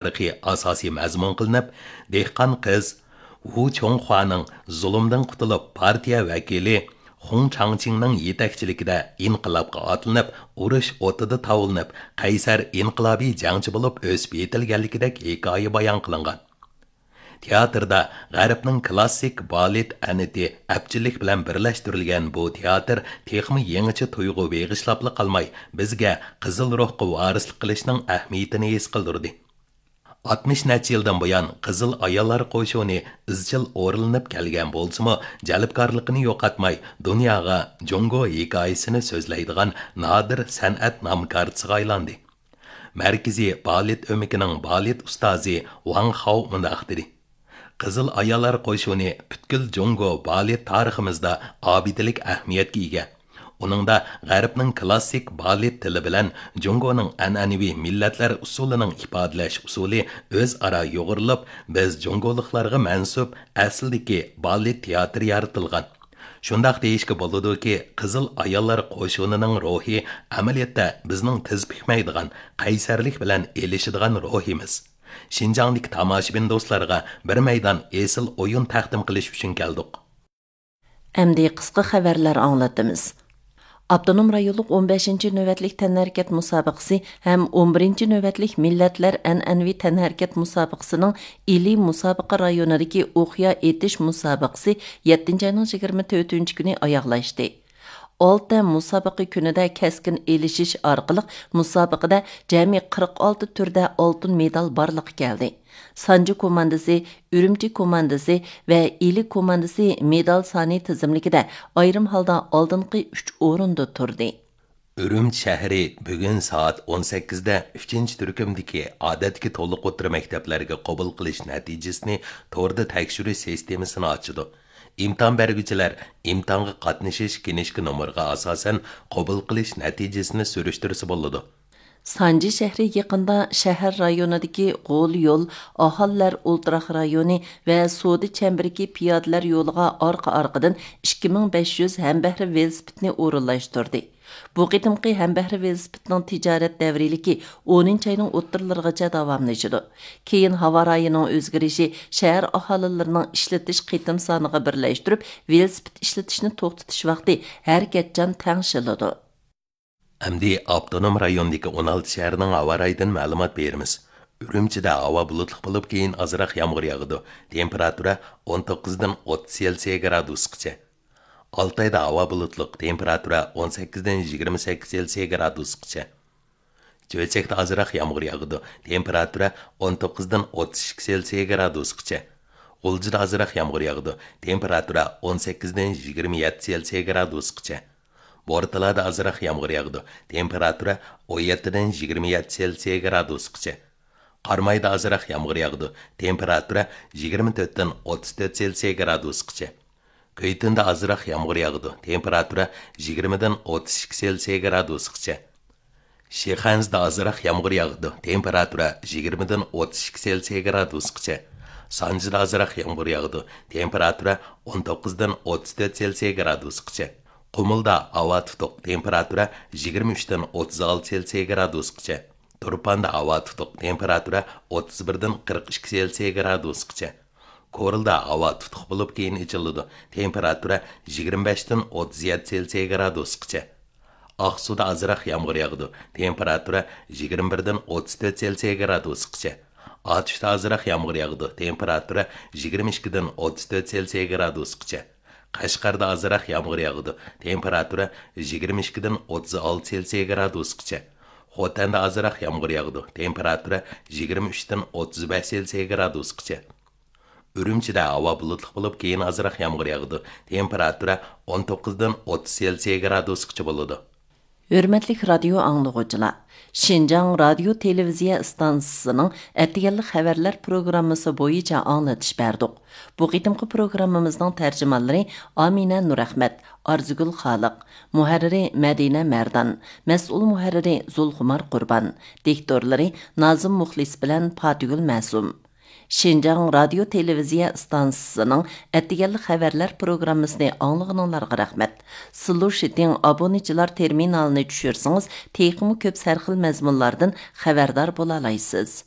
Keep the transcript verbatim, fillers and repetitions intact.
تارىخى ئاساسىي مەزمۇن قىلىنىپ، دېھقان قىز ۋۇ چوڭخۇانىڭ زۇلۇمدىن قۇتۇلۇپ، پارتىيە ۋەكىلى خۇڭ چاڭچىڭنىڭ يېتەكچىلىكىدە ئىنقىلابقا ئاتلىنىپ، ئۇرۇش ئوتىدا تاۋلىنىپ، قەيسەر ئىنقىلابىي جەڭچى بولۇپ ئۆسۈپ يېتىلگەنلىكىدەك ھېكايە بايان قىلىنغان. تىياتىردا غەربنىڭ كلاسسىك بالېت ئەنئەنئەتى ئەپچىللىك بىلەن بىرلەشتۈرۈلگەن بۇ تىياتىر تېخىمۇ يېڭىچە تۇيغۇ بېغىشلاپلا قالماي، بىزگە قىزىل روھقا ۋارىسلىق قىلىشنىڭ ئەھمىيىتىنى ھېس قىلدۇردى. ئاتمىش نەچچە يىلدىن بۇيان قىزىل ئاياللار قوشۇنى ئىزچىل ئورۇنلىنىپ كەلگەن بولسىمۇ، جەلپكارلىقىنى يوقاتماي، دۇنياغا جۇڭگو ھېكايىسىنى سۆزلەيدىغان نادىر سەنئەت نامكارچىسىغا ئايلاندى. مەركىزىي بالېت ئۆمىكىنىڭ بالېت ئۇستازى ۋاڭ خاۋ مۇنداق دېدى: «قىزىل ئاياللار قوشۇنى پۈتكۈل جۇڭگو بالېت تارىخىمىزدا ئابىدىلىك ئەھمىيەتكە ئىگە. ئۇنىڭدا غەربنىڭ كلاسسىك بالېت تىلى بىلەن جۇڭگونىڭ ئەنئەنىۋى مىللەتلەر ئۇسسۇلىنىڭ ئىپادىلەش ئۇسۇلى ئۆزئارا يۇغۇرۇلۇپ، بىز جۇڭگولۇقلارغا مەنسۇپ ئەسلىدىكى بالېت تىياتىرى يارىتىلغان. شۇنداق دېيىشكە بولىدۇكى، قىزىل ئاياللار قوشۇنىنىڭ روھى ئەمەلىيەتتە بىزنىڭ تىز پۈكمەيدىغان، قەيسەرلىك بىلەن ئېلىشىدىغان روھىمىز. شىنجاڭدىكى تاماشىبىن دوستلارغا بىر مەيدان ئېسىل ئويۇن تەقدىم قىلىش ئۈچۈن كەلدۇق.» ئەمدى قىسقا خەۋەرلەر ئاڭلىتىمىز. ئاپتونوم رايونلۇق ئون بەشىنچى نۆۋەتلىك تەنھەرىكەت مۇسابىقىسى ھەم ئون بىرىنچى نۆۋەتلىك مىللەتلەر ئەنئەنىۋى تەنھەرىكەت مۇسابىقىسىنىڭ ئىلى مۇسابىقە رايونىدىكى ئوقيا ئېتىش مۇسابىقىسى يەتتىنچى ئاينىڭ يىگىرمە تۆتىنچى كۈنى ئاياغلاشتى. ئالتە مۇسابىقە كۈنىدە كەسكىن ئېلىشىش ئارقىلىق مۇسابىقىدە جەمئىي قىرىق ئالتە تۈردە ئالتۇن مېدال بارلىققا كەلدى. سانجى كوماندىسى، ئۈرۈمچى كوماندىسى ۋە ئىلى كوماندىسى مېدال سانى تىزىملىكىدە ئايرىم ھالدا ئالدىنقى ئۈچ ئورۇندا تۇردى. ئۈرۈمچى شەھىرى بۈگۈن سائەت ئون سەككىزدە ئۈچىنچى تۈركۈمدىكى ئادەتتىكى تولۇق ئوتتۇرا مەكتەپلەرگە قوبۇل قىلىش نەتىجىسىنى توردا تەكشۈرۈش سىستېمىسىنى ئاچىدۇ. ئىمتىھان بەرگۈچىلەر ئىمتىھانغا قاتنىشىش كىنىشكا نومۇرىغا ئاساسەن قوبۇل قىلىش نەتىجىسىنى سۈرۈشتۈرسە بولىدۇ. سانجى شەھىرى يېقىندا شەھەر رايونىدىكى غول يول، ئاھالىلەر ئولتۇراق رايونى ۋە سودا چەمبىرىكى پىيادىلەر يولىغا ئارقا-ئارقىدىن ئىككى مىڭ بەش يۈز ھەمبەھرە ۋېلىسىپىتنى ئورۇنلاشتۇردى. بۇ قېتىمقى ھەمبەھرە ۋېلىسىپىتنىڭ تىجارەت دەۋرىيلىكى ئونىنچى ئاينىڭ ئوتتۇرىلىرىغىچە داۋاملىشىدۇ. كېيىن ھاۋا رايىنىڭ ئۆزگىرىشى شەھەر ئاھالىلىرىنىڭ ئىشلىتىش قېتىم سانىغا بىرلەشتۈرۈپ، ۋېلىسىپىت ئىشلىتىشنى توختىتىش ۋاقتى ھەرىكەتچان تەڭشىلىدۇ. ئەمدى ئاپتونوم رايوندىكى ئون ئالتە شەھەرنىڭ ھاۋا رايىدىن مەلۇمات بېرىمىز. ئۈرۈمچىدە ھاۋا بۇلۇتلۇق بولۇپ، كېيىن ئازراق يامغۇر ياغىدۇ. تېمپېراتۇرا ئون توققۇزدىن ئوتتۇز سېلسىيە گرادۇسقىچە. ئالتايدا ھاۋا بۇلۇتلۇق، تېمپېراتۇرا ئون سەككىزدىن يىگىرمە سەككىز سېلسىيە گرادۇسقىچە. چۆچەكتە ئازراق يامغۇر ياغىدۇ، تېمپېراتۇرا ئون توققۇزدىن ئوتتۇز ئىككى سېلسىيە گرادۇسقىچە. غۇلجىدا ئازراق يامغۇر ياغىدۇ، تېمپېراتۇرا ئون سەككىزدىن يىگىرمە يەتتە سېلسىيە گرادۇسقىچە. بورتالادا ئازراق يامغۇر ياغىدۇ، تېمپېراتۇرا ئون يەتتىدىن يىگىرمە يەتتە سېلسىيە گرادۇسقىچە. قارامايدا ئازراق يامغۇر ياغىدۇ، تېمپېراتۇرا يىگىرمە تۆتتىن ئوتتۇز تۆت سېلسىيە گرادۇسقىچە. كۈيتۈندە ئازراق يامغۇر ياغىدۇ، تېمپېراتۇرا يىگىرمىدىن ئوتتۇز ئىككى سېلسىيە گرادۇسقىچە. شىخەنزىدە ئازراق يامغۇر ياغىدۇ، تېمپېراتۇرا يىگىرمىدىن ئوتتۇز ئىككى سېلسىيە گرادۇسقىچە. سانجىدا ئازراق يامغۇر ياغىدۇ، تېمپېراتۇرا ئون توققۇزدىن ئوتتۇز تۆت سېلسىيە گرادۇسقىچە. قۇمۇلدا ھاۋا تۇتۇق، تېمپېراتۇرا يىگىرمە ئۈچتىن ئوتتۇز ئالتە سېلسىيە گرادۇسقىچە. تۇرپاندا ھاۋا تۇتۇق، تېمپېراتۇرا ئوتتۇز بىردىن قىرىق ئىككى سېلسىيە گرادۇسقىچە. كورلىدا ھاۋا تۇتۇق بولۇپ، كېيىن ئېچىلىدۇ، تېمپېراتۇرا يىگىرمە بەشتىن ئوتتۇز يەتتە سېلسىيە گرادۇسقىچە. ئاقسۇدا ئازراق يامغۇر ياغىدۇ، تېمپېراتۇرا يىگىرمە بىردىن ئوتتۇز تۆت سېلسىيە گرادۇسقىچە. ئاتۇشتا ئازراق يامغۇر ياغىدۇ، تېمپېراتۇرا يىگىرمە ئىككىدىن ئوتتۇز تۆت سېلسىيە گرادۇسقىچە. قەشقەردە ئازراق يامغۇر ياغىدۇ، تېمپېراتۇرا يىگىرمە ئىككىدىن ئوتتۇز ئالتە سېلسىيە گرادۇسقىچە. خوتەندە ئازراق يامغۇر ياغىدۇ، تېمپېراتۇرا يىگىرمە ئۈچتىن ئوتتۇز بەش سېلسىيە گرادۇسقىچە. ئۈرۈمچىدە ھاۋا بۇلۇتلۇق بولۇپ، كېيىن ئازراق يامغۇر ياغىدۇ، تېمپېراتۇرا ئون توققۇزدىن ئوتتۇز سېلسىيە گرادۇسقىچە بولىدۇ. ھۆرمەتلىك رادىيو ئاڭلىغۇچىلار! شىنجاڭ رادىيو تېلېۋىزىيە ئىستانسىسىنىڭ ئەتىگەنلىك خەۋەرلەر پروگراممىسى بويىچە ئاڭلىتىش بەردۇق. بۇ قېتىمقى پروگراممىمىزنىڭ تەرجىمانلىرى ئامىنە نۇرئەخمەت، ئارزۇگۈل خالىق، مۇھەررىرى مەدىنە مەردان، مەسئۇل مۇھەررىرى زۇلخۇمار قۇربان، دىكتورلىرى نازىم مۇخلىس بىلەن پاتىگۈل مەسۇم. شىنجاڭ رادىيو تېلېۋىزىيە ئىستانسىسىنىڭ ئەتىگەنلىك خەۋەرلەر پروگراممىسىنى ئاڭلىغىنىڭلارغا رەھمەت. سىلۇشىتىڭ ئابۇنىچىلار تېرمىنالىنى چۈشۈرسىڭىز، تېخىمۇ كۆپ سەرخىل مەزمۇنلاردىن خەۋەردار بولالايسىز.